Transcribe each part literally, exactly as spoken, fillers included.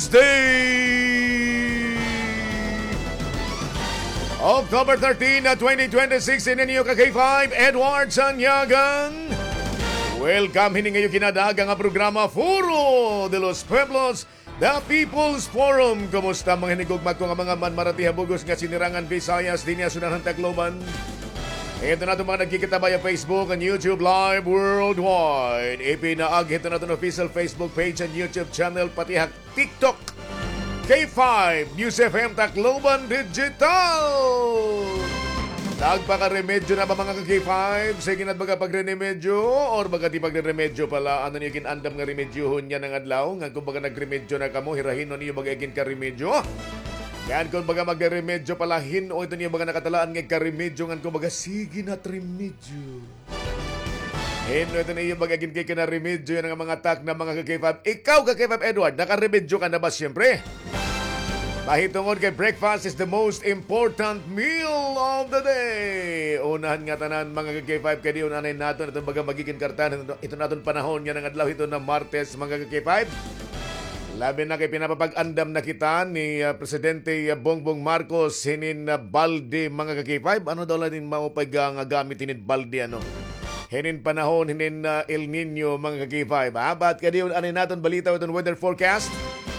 Day, October thirteen, twenty twenty-six, ini an iyo ka K five, Edward Sanyagan. Welcome hini nga iyo kinadaga nga programa, Foro de los Pueblos, The People's Forum. Kumusta mga hinigugma ko nga mga manmarati ha bug-os nga sinirangan Visayas dinhi ha syudad han Tacloban? Ito na itong mga nagkikita via Facebook and YouTube Live worldwide. Ipinaagi ito na itong official Facebook page and YouTube channel, pati ha TikTok. K five News F M Tacloban Digital. Nagpakaremedyo na ba, mga ka-K five? Sige na, baga pagrenemedyo or baga di pagreremedyo pala? Ano niyo ginandam nga remedyohon yana nga adlaw? Ngan kung baga nagremedyo na kamo, hira hin-o niyo baga iginkaremedyo? Ngan kung baga magreremedyo pala, hin-o ito niyo baga nakatalaan nga ikaremedyo? Ngan kung baga, sige na, remedyo. Hin-o ito niyo baga iginkikinarimedyo yana nga mga takna, mga ka-K five? Ikaw, ka-K five Edward, nakaremedyo ka na ba, siyempre? Mahitungod kay breakfast is the most important meal of the day. Unahan nga tanan, mga ka-K five, kay diyon anay naton ito baga magiging kartahan ito, ito naton panahon yana nga adlaw, ito na Martes, mga ka-K five. Labi na kay pinapapag-andam na kita ni, ah, Presidente, ah, Bongbong Marcos hinin, ah, balde, mga ka-K five. Ano daw la nin maupay nga gamit hinin balde, ano? Hinin panahon hinin, ah, El Niño, mga ka-K five, ha? But kay diyon anay naton balita, iton weather forecast.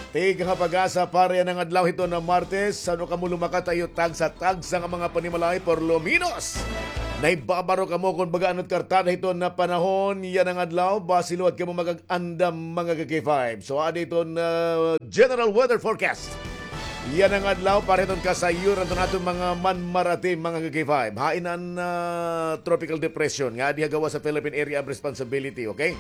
Tigha ha PAGASA para yana nga adlaw, ito na Martes. Ano kamo lumakat ha iyo tagsa-tagsa nga mga panimalay, por lo menos nahibabaro kamo kon baga ano it kartada hiton na panahon yana nga adlaw, basi liwat kamo makag-andam, mga ka-K five. So, adi iton, ah, general weather forecast yana nga adlaw para hiton kasayuran hiton aton mga manmarati, mga ka-K five. Hain an, ah, tropical depression nga adi ha gawas ha Philippine Area of Responsibility, okay?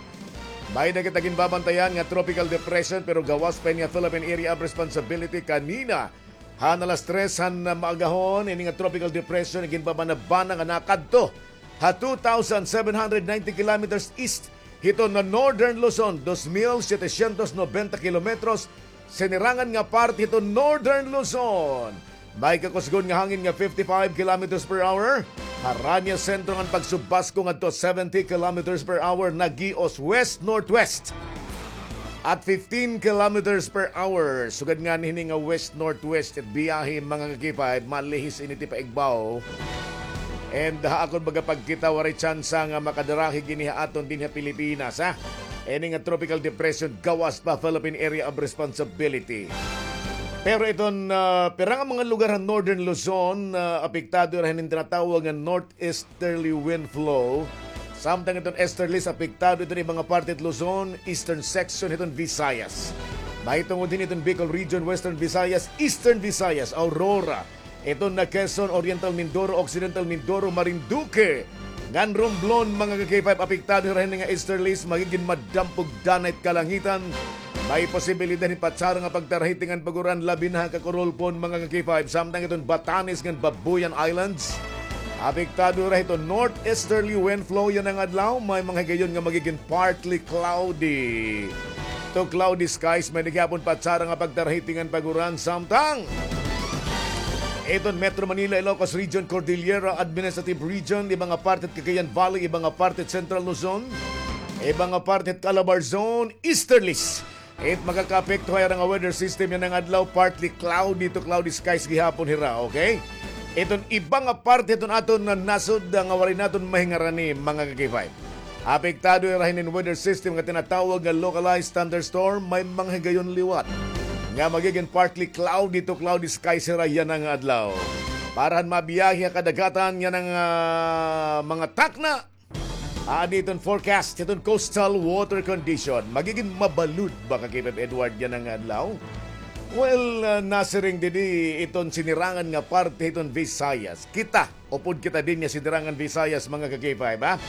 May-ada kita ginbabantayan nga tropical depression, pero gawas pa ini ha Philippine Area of Responsibility kanina. Han alas tres han maagahon, ini nga tropical depression iginbabanabana nga nakadto ha two thousand seven hundred ninety kilometers east hiton Northern Luzon, dos mil setecientos noventa kilometros, sinirangan nga parte hiton Northern Luzon. May kakusgon nga hangin nga fifty-five kilometers per hour. Harania sentro ngan pagsubasko ngadto seventy kilometers per hour, nag-ios west-northwest at fifteen kilometers per hour. Sugad ngani hini nga west-northwest it biyahe, mga ka-K five, malihis ini ti paigbaw. And ha akon baga pagkita, waray tsansa nga makadarahi gini ha aton dinhi ha Pilipinas, ha? Ini nga tropical depression gawas pa Philippine Area of Responsibility. Pero iton, ah, pira nga mga lugar ha Northern Luzon, ah, apektado hira hinin tinatawag nga northeasterly wind flow. Samtang iton easterlies, apektado iton iba nga parte hit Luzon, eastern section hiton Visayas. Mahitungod hini iton Bicol Region, Western Visayas, Eastern Visayas, Aurora, iton na Quezon, Oriental Mindoro, Occidental Mindoro, Marinduque, ngan Romblon, mga ka-K five, apektado hira hini nga easterlies, magigin madampog danay it kalangitan. May posibilidad hin patsara nga pagtarahiting ngan pag-uran, labi na ha Kakurulpon, mga ka-K five, samtang iton Batanes ngan Babuyan Islands. Apektado hira hiton northeasterly wind flow yana nga adlaw, may mga higayon nga magigin partly cloudy to cloudy skies, may-ada gihapon patsara nga pagtarahiting ngan pag-uran, samtang iton Metro Manila, Ilocos Region, Cordillera Administrative Region, iba nga parte hit Cagayan Valley, iba nga parte hit Central Luzon, iba nga parte hit Calabarzon, easterlies. It makakaapekto ha ira nga weather system yana nga adlaw, partly cloudy to cloudy skies gihapon hira, okay? Iton iba nga parte hiton aton nga nasod nga waray naton mahingarani, mga ka-K five. Apektado hira hinin weather system nga tinatawag nga localized thunderstorm, may mga higayon liwat nga magigin partly cloudy to cloudy skies hira yana nga adlaw. Para han mabiyahe ha kadagatan yana nga, ah, mga takna, adi iton forecast hiton coastal water condition. Magigin mabalud ba, ka-K five Edward, yana nga adlaw? Well, ah, nasiring didi iton sinirangan nga parte hiton Visayas. Kita, upod kita dinhi ha sinirangan Visayas, mga ka-K five, ha?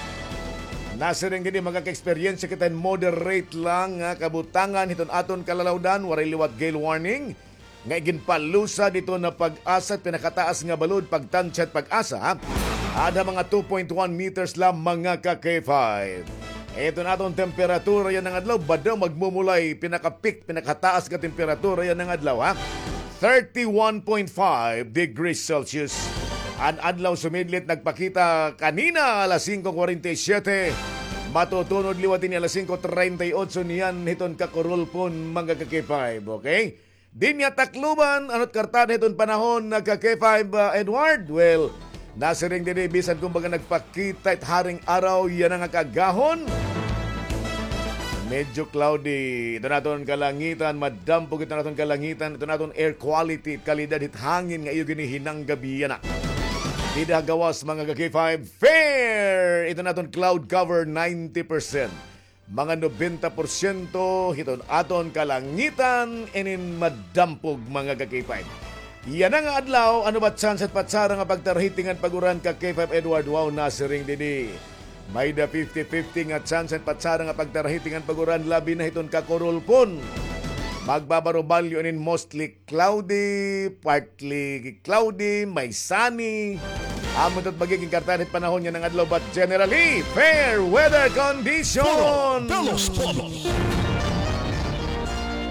Nasiring didi, makaka-eksperyensya kita hin moderate lang nga kabutangan hiton aton kalalawdan, waray liwat gale warning nga iginpalusad hiton PAGASA, pinakataas nga balod, pagtansya hit PAGASA, ha? Ada mga two point one meters la, mga ka-K five. Iton aton temperatura yana nga adlaw, badaw magmumulay, pinaka-peak, pinakataas nga temperatura yana nga adlaw, ha? Thirty-one point five degrees Celsius. An adlaw sumidlit nagpakita kanina alas singko kwarenta y siyete. Matutunod liwat ini alas singko treinta y ocho niyan hiton Kakurulpon, mga ka-K five, okay? Dinhi ha Tacloban, ano it kartada hiton panahon, nagka K five, ah, Edward? Well, nasiring didi, bisan kumbaga nagpakita it haring araw yana nga kaagahon, medyo cloudy iton aton kalangitan, madampog iton aton kalangitan, iton aton air quality, kalidad hit hangin nga iyo ginihinanggab yana. Dida ha gawas, mga ka-K five, fair iton aton cloud cover, ninety percent. Mga nobenta porsyento hiton aton kalangitan inin madampog, mga ka-K five. Yana nga adlaw, ano ba chance it patsara nga pagtarhiti ngan pag-uran, ka-K five Edward? Wow, nasiring didi. May-da fifty fifty nga chance it patsara nga pagtarhiti ngan pag-uran, labi na hiton kakurulpon. Magbabarubalyo inin mostly cloudy, partly cloudy, may sunny. Amo ito it magiging kartada hit panahon yana nga adlaw, but generally, fair weather condition. Puro de los pueblos.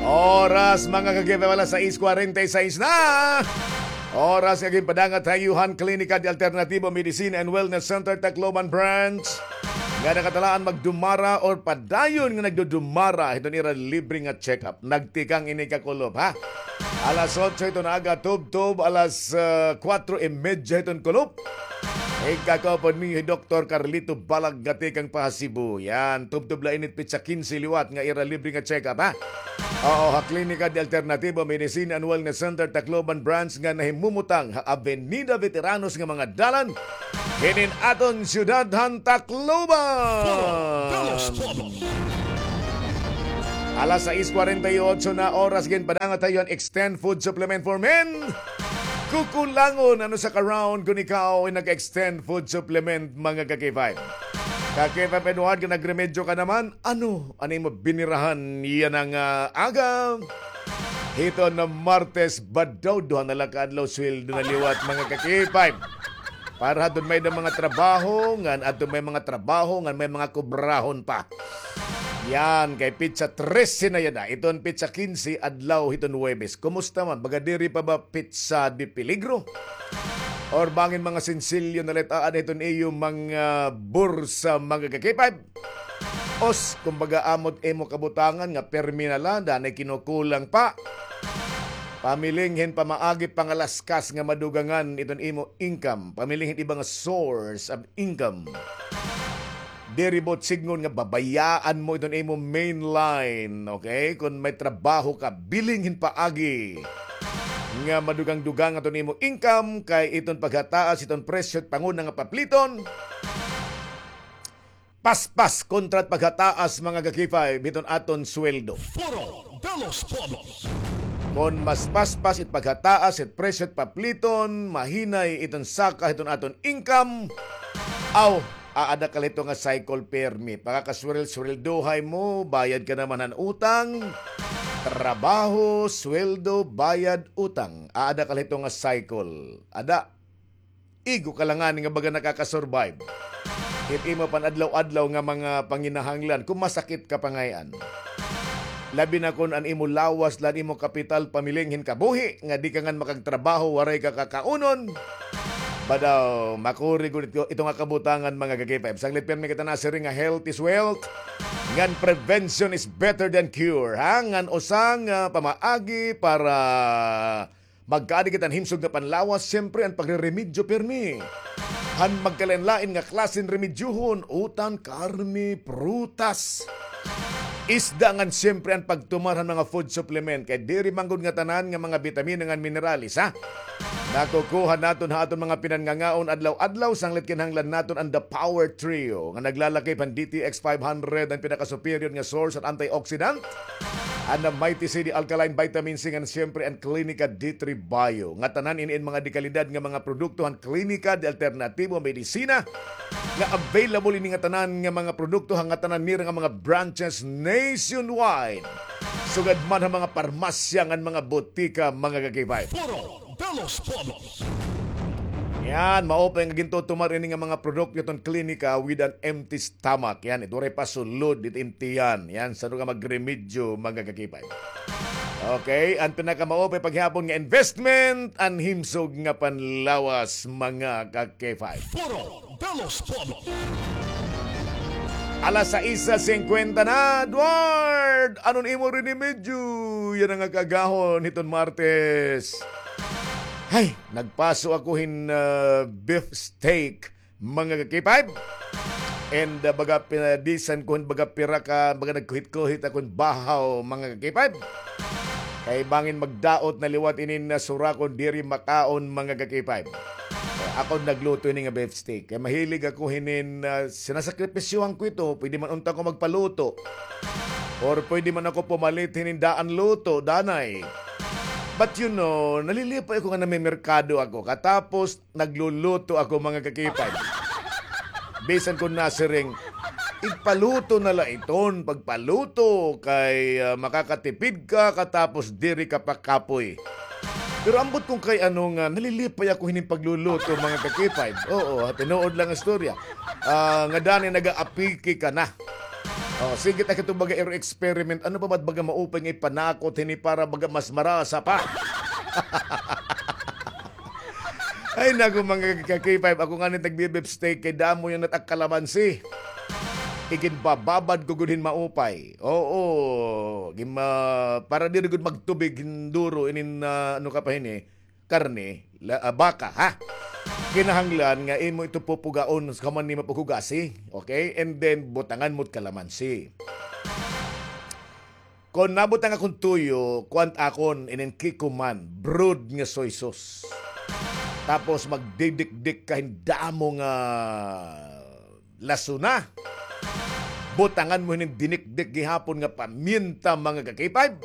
Oras, mga ka-K five, alas sais kwarenta y sais na. Oras nga ginpadangat ha iyo han Klinika de Alternativo Medicine and Wellness Center, Tacloban Branch, nga nakatalaan magdumara or padayon nga nagdudumara hiton ira libre nga check-up. Nagtikang ini kakulop, ha? Alas otso hiton aga tubtob alas, ah, kuwatro y medya hiton kulop. Igkakaupod niyo hi Doktor Carlito Balag nga tikang pa ha Cebu. Yan, tubtob la ini it petsa kinse liwat nga ira libre nga check-up, ha? Oo, ha Klinika de Alternativo Medicine and Wellness Center, Tacloban Branch, nga nahimumutang ha Avenida Veteranos nga mga dalan hinin aton syudad han Tacloban. Foro de los Pueblos. Alas sais kwarenta y otso na oras, ginpadangat ha iyo han Extend Food Supplement for Men. Kukulangon an usa ka round kon ikaw ay nag-extend food supplement, mga ka-K five. Ka-K five Edward, nga nagremedyo ka naman, ano an imo binirahan yana nga aga? Hiton Martes ba daw, duha na la ka adlaw sweldo na liwat, mga ka-K five. Para hadton may-ada mga trabaho, ngan adton may mga trabaho, ngan may mga kubrahon pa. Yan, kay petsa trese na yana. Iton petsa kinse, adlaw hiton Huwebes. Kumusta man? Baga diri pa ba petsa de peligro? Or bangin mga sinsilyo na la it aada hiton iyo mga bursa, mga ka-K five? Os, kumbaga, amo it imo kabutangan nga permi na la, danay kinukulang pa. Pamiling hin pamaagi, pangalaskas nga madugangan iton imo income. Pamiling hin iba nga source of income. Diri buot sidngon nga babayaan mo iton imo main line, okay? Kon may trabaho ka, biling hin paagi nga madugang-dugang iton imo income, kay iton paghataas iton presyo it panguna nga papliton, paspas kontra it paghataas, mga ka-K five, hiton aton sweldo. Foro de los Pueblos. Kon mas paspas it paghataas it presyo it papliton, mahinay iton saka hiton aton income. Aw, aada ka la hito nga cycle permi. Pakakaswel-, sweldohay mo, bayad ka naman han utang. Trabaho, sweldo, bayad, utang. Aada ka la hito nga cycle. Ada. Igo ka la ngani nga baga nakaka-survive hit imo pan-adlaw-adlaw nga mga panginahanglan, kon masakit ka pa ngay-an. Labi na kon an imo lawas la an imo kapital pamiling hin kabuhi, nga di ka ngani makagtrabaho, waray ka kakaunon. Ba daw, makuri gud ito, ito nga kabutangan, mga ka-K five. Sanglit pirmi kita nasiring nga health is wealth, ngan prevention is better than cure, ha? Ngan usa nga pamaagi para magkaadi kita hin himsog nga panlawas, siyempre, an pagreremedyo pirmi han magkalain-lain nga klase hin remedyohon, utan, karne, prutas, isda, ngan siyempre an pagtumar han mga food supplement. Kay diri man gud ngatanan nga mga bitamina ngan minerales, ha, nakukuha naton ha aton mga pinangangaon adlaw-adlaw. Sanglit kinahanglan naton an The Power Trio nga naglalakip han D T X five hundred, an pinaka-superior nga source han antioxidant, an Mighty C D Alkaline Vitamin C, ngan siyempre an Klinika D three Bio. Ngatanan ini in mga dekalidad nga mga produkto han Klinika de Alternativo Medicina, nga available ini ngatanan nga mga produkto ha ngatanan nira nga mga branches nationwide, sugad man ha mga parmasya ngan mga botika, mga ka-K five. Foro de los Pueblos. Yan, maupay nga gintutumar ini nga mga produkto hiton Klinika with an empty stomach. Yan, it waray pa sulod it im tiyan. Yan, san-o ka magremedyo, mga ka-K five. Okay, an pinakamaupay pa gihapon nga investment, an himsog nga panlawas, mga ka-K five. Foro de los Pueblos. Alas sais singkwenta na, Edward! Ano an imo rinimedyo yana nga kaagahon hiton Martes? Hay, nagpaso ako hin, ah, beef steak, mga ka-K five. And, ah, baga pinabisan ko hin baga pira ka, baga nagkuhit-kuhit ako hin bahaw, mga ka-K five. Kay bangin magdaot na liwat inin, ah, sura kon diri makaon, mga ka-K five. Ako nagluto ini nga beef steak. Kay mahilig ako hinin, ah, sinasakripisyohan ko ito. Pwede man unta ko magpaluto. Or pwede man ako pumalit hinin daan luto, danay. But you know, nalilipay ako nga namimerkado ako. Katapos, nagluluto ako, mga ka-K five. Bisan kon nasiring, igpaluto na la iton, pagpaluto kay, ah, makakatipid ka, katapos diri ka pa kapoy. Pero ambot kon kay ano nga, nalilipay ako hinin pagluluto, mga ka-K five. Oo, tinuod lang nga istorya. Ah, nga danay nagaapiki ka na. Oh, sige ta kito baga iro experiment. Ano pa ba't baga maupay nga ipanakot hini para baga mas marasa pa? Ay, naku, mga ka-K five, ako ngani nagbi-beef steak kay damo yana it ak kalamansi. Iginbababad ko gud hin maupay. Oo, gin-, ah, para diri gud magtubig hin duro inin, ah, ano ka pa hini, karne, la-, ah, baka, ha? Kinahanglan nga imo ito pupugaon sa human nimo paghugasi, okay? And then, butangan mo it kalamansi. Kon nabutang akon tuyo, kuan akon inin Kikkoman, brood nga soy sauce. Tapos magdidikdik ka hin damo nga lasona. Butangan mo hinin dinikdik gihapon nga paminta, mga ka-K five.